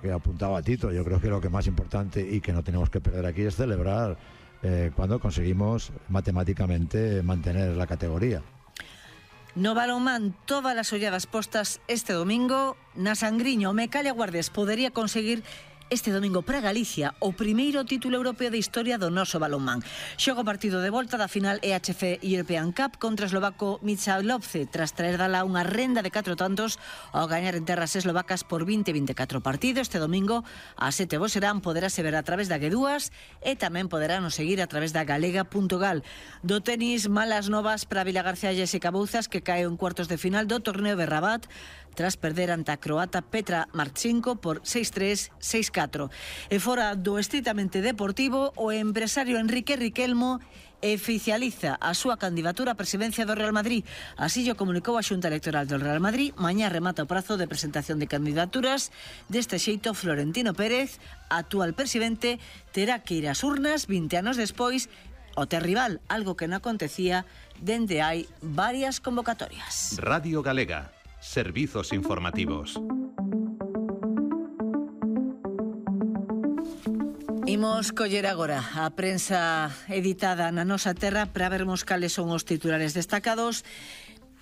que apuntaba Tito. Yo creo que lo que más importante y que no tenemos que perder aquí es celebrar cuando conseguimos matemáticamente mantener la categoría. No balonmán, todas las olladas postas este domingo na Sangriño. Mecalia Guardes podería conseguir este domingo para Galicia o primeiro título europeo de historia do noso balonmán. Xoga o partido de volta da final EHF European Cup contra o eslovaco Michalovce, tras traer dala unha renda de 4 tantos ao gañar en terras eslovacas por 20-24 partido. Este domingo a 7 serán, poderase ver a través da G2 e tamén poderán nos seguir a través da galega.gal. Do tenis, malas novas para Vila García e Jessica Bouzas, que cae en cuartos de final do torneo de Rabat tras perder ante a croata Petra Marchenko por 6-3, 6-4. E fora do estritamente deportivo, o empresario Enrique Riquelmo oficializa a súa candidatura á presidencia do Real Madrid. Así o comunicou a Xunta Electoral do Real Madrid. Mañá remata o prazo de presentación de candidaturas. Deste xeito, Florentino Pérez, actual presidente, terá que ir ás urnas 20 anos despois o ter rival, algo que non acontecía dende hai varias convocatorias. Radio Galega. Servizos informativos. Imos coller agora a prensa editada na nosa terra para vermos cales son os titulares destacados.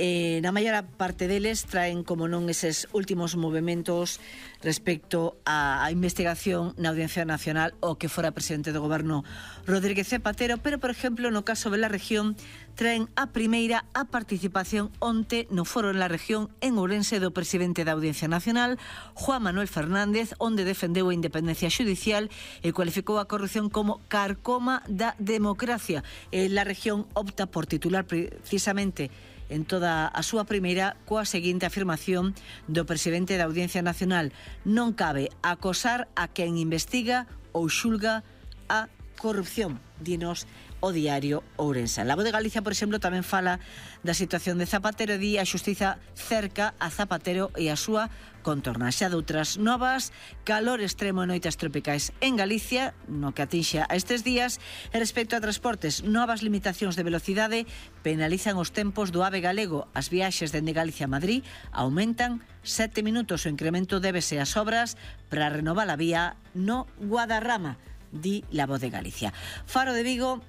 Na maior parte deles traen, como non, eses últimos movimentos respecto á investigación na Audiencia Nacional o que fora presidente do goberno Rodríguez Zapatero, pero, por exemplo, no caso de la región, traen a primeira a participación onte no foro en la región en Ourense do presidente da Audiencia Nacional, Juan Manuel Fernández, onde defendeu a independencia xudicial e cualificou a corrupción como carcoma da democracia. La región opta por titular precisamente en toda a súa primeira coa seguinte afirmación do presidente da Audiencia Nacional: non cabe acosar a quen investiga ou xulga a corrupción, dinos o diario Ourense. La Voz de Galicia, por exemplo, tamén fala da situación de Zapatero e di a xustiza cerca a Zapatero e a súa contorna. Xa doutras novas, calor extremo e noites tropicais en Galicia, no que atinxa a estes días. E respecto a transportes, novas limitacións de velocidade penalizan os tempos do AVE galego. As viaxes dende Galicia a Madrid aumentan 7 minutos. O incremento débese ás obras para renovar a vía no Guadarrama, di La Voz de Galicia. Faro de Vigo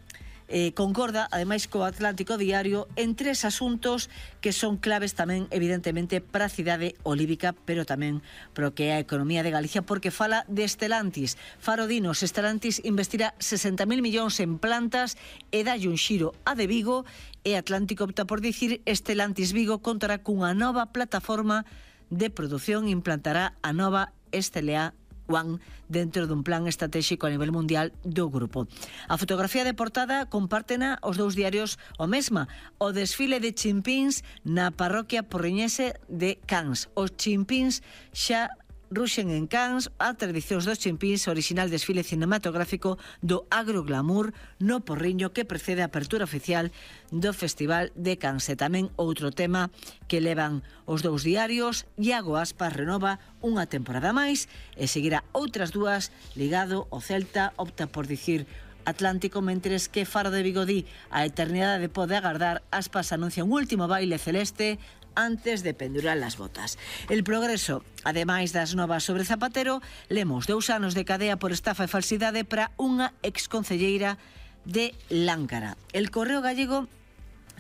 concorda, ademais, co Atlántico Diario en 3 asuntos que son claves tamén, evidentemente, para a cidade olívica, pero tamén pro que é a economía de Galicia, porque fala de Stellantis. Faro dinos, Stellantis investirá 60.000 millóns en plantas e dalle un xiro a de Vigo, e Atlántico opta por dicir Stellantis Vigo contará cunha nova plataforma de produción e implantará a nova STLA One dentro dun plan estratégico a nivel mundial do grupo. A fotografía de portada compártena os dous diarios o mesma: o desfile de chimpíns na parroquia porriñese de Cans. Os chimpíns xa ruxen en Cans, a tradicións dos chimpíns, original desfile cinematográfico do agroglamour no Porriño que precede a apertura oficial do Festival de Cans. E tamén outro tema que levan os dous diarios: Iago Aspas renova unha temporada máis e seguirá outras dúas ligado ao Celta. Opta por dicir Atlántico, mentres que Faro de Vigo di a eternidade pode agardar. Aspas anuncia un último baile celeste antes de pendurar las botas. El Progreso, ademais das novas sobre Zapatero, lemos 2 anos de cadea por estafa e falsidade para unha exconcelleira de Láncara. El Correo Gallego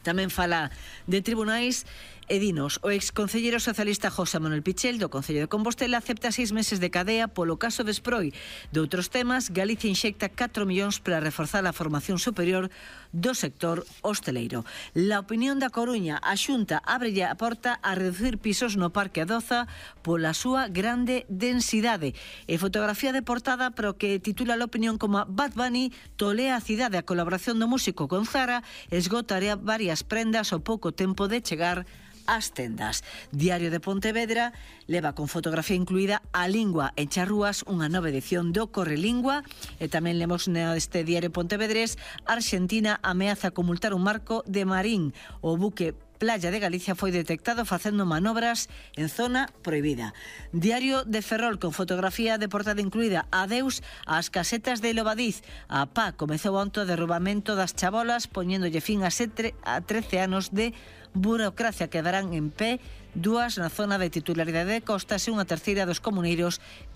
tamén fala de tribunais e dinos: o exconcelleiro socialista José Manuel Pichel do Concello de Compostela acepta 6 meses de cadea polo caso de Sproi. De outros temas, Galicia inxecta 4 millóns para reforzar a formación superior do sector hosteleiro. La Opinión da Coruña: a Xunta ábrelle a porta a reducir pisos no Parque Adoza pola súa grande densidade. E fotografía de portada para o que titula La Opinión como Bad Bunny tolea a cidade. A colaboración do músico con Zara esgotaría varias prendas ao pouco tempo de chegar ás tendas. Diario de Pontevedra leva con fotografía incluída a lingua en charrúas, unha nova edición do Correlingua. E tamén lemos neste Diario Pontevedrés: Argentina ameaza con multar un marco de Marín. O buque Playa de Galicia foi detectado facendo manobras en zona prohibida. Diario de Ferrol con fotografía de portada incluída: adeus ás casetas de Lobadiz. A PA comezou onte o derrubamento das chabolas, poñéndolle fin a 13 anos de burocracia. Quedarán en pé 2 na zona de titularidade de Costas e unha terceira dos comuneiros que